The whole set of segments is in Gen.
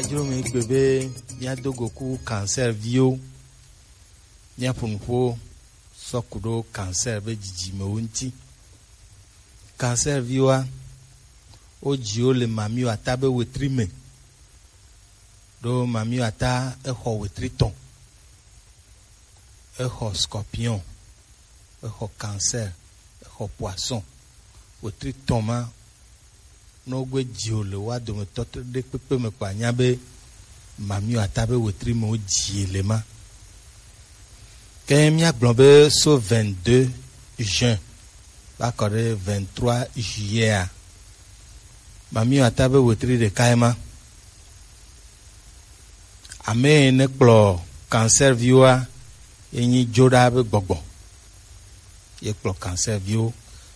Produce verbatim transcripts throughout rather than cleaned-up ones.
Jro mi gbe be míado go ku cancer viwo, míaƒo nuƒo sɔ ku ɖo cancer be dzidzimewo ŋuti. Cancer viwoa, wodzi wo le mamiwo ata be wetri me. Ɖo mamiwo ata exɔ wetri tɔn. Exɔ scorpion, exɔ cancer, exɔ poisson. Wetri tɔn ma, ne wogbe dzi wo le woa dometɔ ɖe kpekpe me kpo, anya be mamiwo ata be wetri me wodzi le ma. Ke míagblɔ be so vingt-deux juin va kɔ ɖe vingt-trois juillet a, mamiwo ata be wetri ɖeka ye ma. Ame yi ne kplɔ cancer viwoa, ye nyi dzoɖa be gbɔgbɔ. Ye kplɔ cancer viwo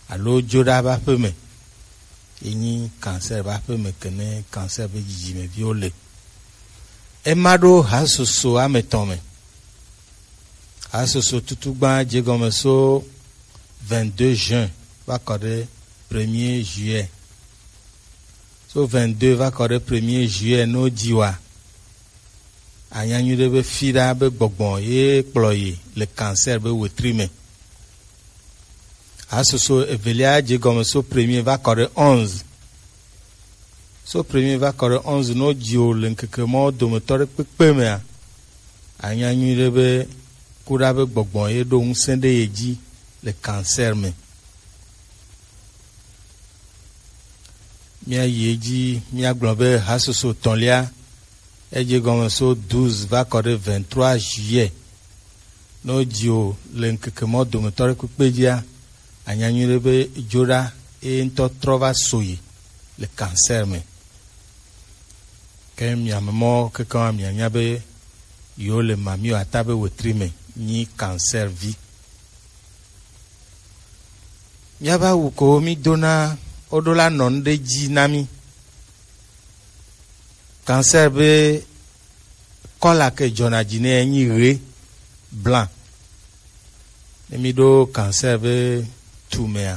alo dzoɖa be aƒeme. Ye nyi cancer be aƒeme ke ne cancer be dzidzimeviwo le. Ema ɖo hasoso ame etɔ̃ me. Hasoso tutugba dze gɔme so vingt-deux juin va kɔ ɖe premier juillet. So vingt-deux va kɔ ɖe premier juillet, ne wodzi woa, anya nyuie ɖe be fi ɖa be gbɔgbɔ ye kplɔ yi le cancer be wetri me. Hasoso evelia dze gɔme so premier va kɔ ɖe onze. So premier va kɔ ɖe onze, ne wodzi wo le ŋkeke mawo dometɔ ɖe kpekpe mea, anya nyuie ɖe be kuɖa be gbɔgbɔ ye ɖo ŋusẽ ɖe ye dzi le cancer me. Míayi edzi, míagblɔ be hasoso etɔ̃lia, edze gɔme so douze va kɔ ɖe vingt-trois juillet. Ne wodzi wo le ŋkeke mawo dometɔ ɖe kpekpe dzia, anya nyuie ɖe be dzoɖa ye ŋutɔ trɔ va so yi le cancer me. Ke mia ame mɔ kekeŋ mianya be yewo le mamiwo ata be wetri me nyi cancer vi. Míaƒe awu ko mídona, woɖo la nɔ nu ɖe dzi na mí. Cancer be kɔla ke dzɔna dzi nɛ nyi ɣe, blanc. Ne míɖo cancer be tu mea,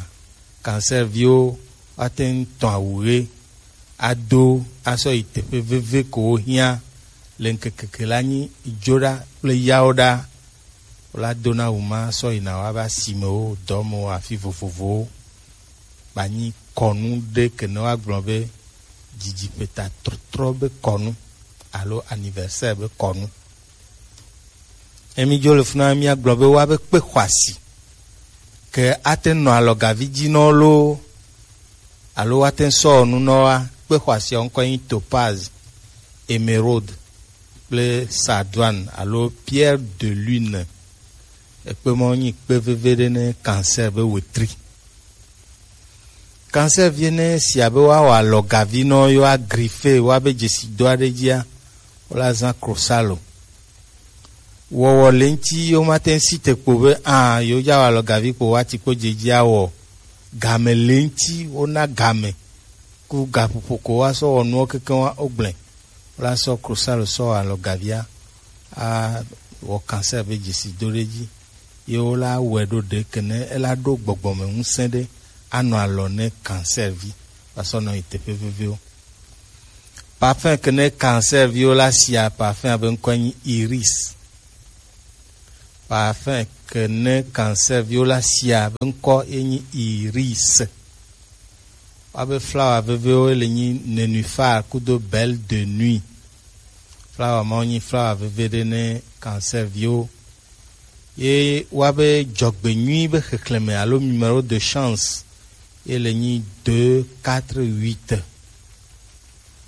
cancer viwo woate ŋu tɔ awu ɣe ado asɔ yi teƒe veve ko wohiã le ŋkeke ke la nyi dzoɖa kple yawoɖa. Wola dona awu ma sɔ yina woabe asimewo, dɔmewo, afi vovovowo. Banyi kɔnu ɖe ke ne woagblɔ be dzidziƒeta trɔtrɔ be kɔnu alo anniversaire be kɔnu. Emi dzo le funa míagblɔ be woabe kpe xɔasi ke ate nɔ alɔgavi dzi nɔ loo alo woate sɔ nu nɔ wa. Kpe xɔasia ŋkɔ nyi topaz, émeraude kple sardoine alo pierre de lune. Ekpe mɔ nyi kpe veve ɖe ne cancer be wetri. Cancer vie ne si abe woawɔ alɔgavi nɔ, yewoa griffe, woabe dzesi do aɖe dzia, wola zã krosalo. Wɔwɔ le ŋuti, womate ŋu si te kpo be a, yewodza wɔ alɔgavi kpo woati kpo dze dzi awɔ. Game le ŋuti, wona game ku gaƒoƒo ko woasɔ wɔ nuwo kekeŋ wa wogblẽ. Wola sɔ krosalo sɔ wɔ alɔgavia awɔ cancer be dzesi do ɖe dzi. Ye wola wɔe ɖo ɖe ke ne ela ɖo gbɔgbɔme ŋusẽ ɖe anɔ alɔ ne cancer vi va sɔ nɔ yi teƒe veviwo. Parfum ke ne cancer viwo la sia, parfum abe ŋkɔe nyi iris. Parfum ke ne cancer viwo la sia be ŋkɔ ye nyi iris. Woabe flawa vevewo le nyi nénuphar kudo belle de nuit. Flawa mawo nyi flawa veve ɖe ne cancer viwo. Ye woabe dzɔgbenyui be xexlẽme alo numéro de chance ye le nyi deux quatre huit.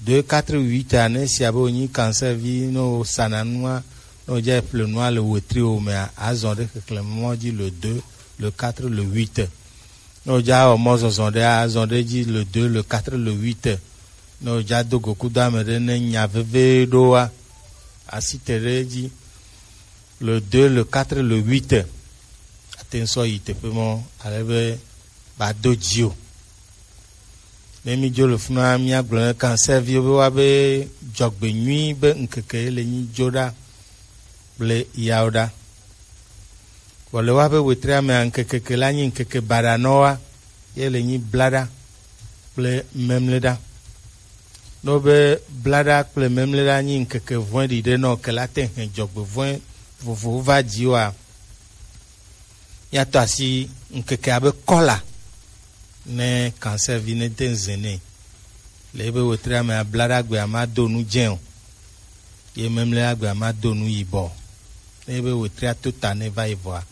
Deux quatre huit a, ne sia be wònyi cancer vi, ne wòsana nua, ne wòdza ƒle nua le wetri wo mea, azɔ ɖe xexlẽme mɔ dzi le deux, le quatre, le huit. Ne wòdza wɔ mɔzɔzɔ ɖe, azɔ ɖe dzi le deux, le quatre, le huit. Ne wòdza do go kudo ame ɖe, ne nya veve ɖoa, asi te ɖe edzi le deux, le quatre, le huit. Ate ŋu sɔ yi teƒe mɔ ale be ba do dzi o. Ne mídzo le funa, míagblɔ ne cancer viwo be woabe dzɔgbenyui be ŋkeke ye le nyi dzoɖa kple yawoɖa. Vɔ le woabe wetria mea, ŋkeke ke la nyi ŋkeke baɖanɔwa ye le nyi blaɖa kple memleɖa. Ne wobe blaɖa kple memlɛɖa nyi ŋkeke vɔ̃ɖi ɖe nɔ ke la te hɛn dzɔgbevɔ̃e vovowo va dzi wa, míato asi ŋkekea be kɔla ne cancer vi ne te ŋu zẽ nɛ. Le ebe wetria mea, blaɖagbea ma do nu dzẽ o, ye memlɛɖagbea ma do nu yibɔ o. Ne ebe wetria to ta ne va yi vɔa,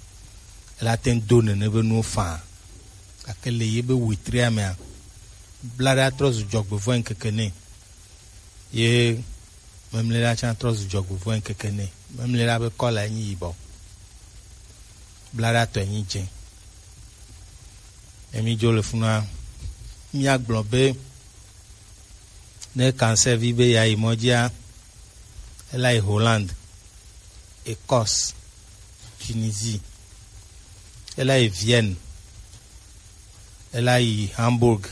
ela te ŋu do nene be nuwo faa. Gake le ye be wetria mea, blaɖa trɔ zu dzɔgbevɔ̃e ŋkeke nɛ, ye memlɛɖa tsã trɔ zu dzɔgbevɔ̃e ŋkeke nɛ. Memlɛɖa be kɔlae nyi yibɔ, blaɖa tɔe nyi dzẽ. Emi dzo le funua, míagblɔ be ne cancer vi be yeayi mɔ dzia, ela yi Hollande, Écosse, Tunisie, ela yi Vienne, ela yi Hamburg.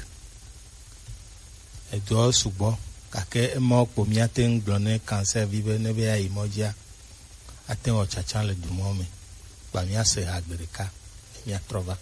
Edɔwo sugbɔ, gake emawo kpo míate ŋu gblɔ ne cancer vi be ne be yeayi mɔ dzia, ate ŋu wɔ tsatsa le dumɔ me. Kpa míase ha gbe ɖeka ne míatrɔ va.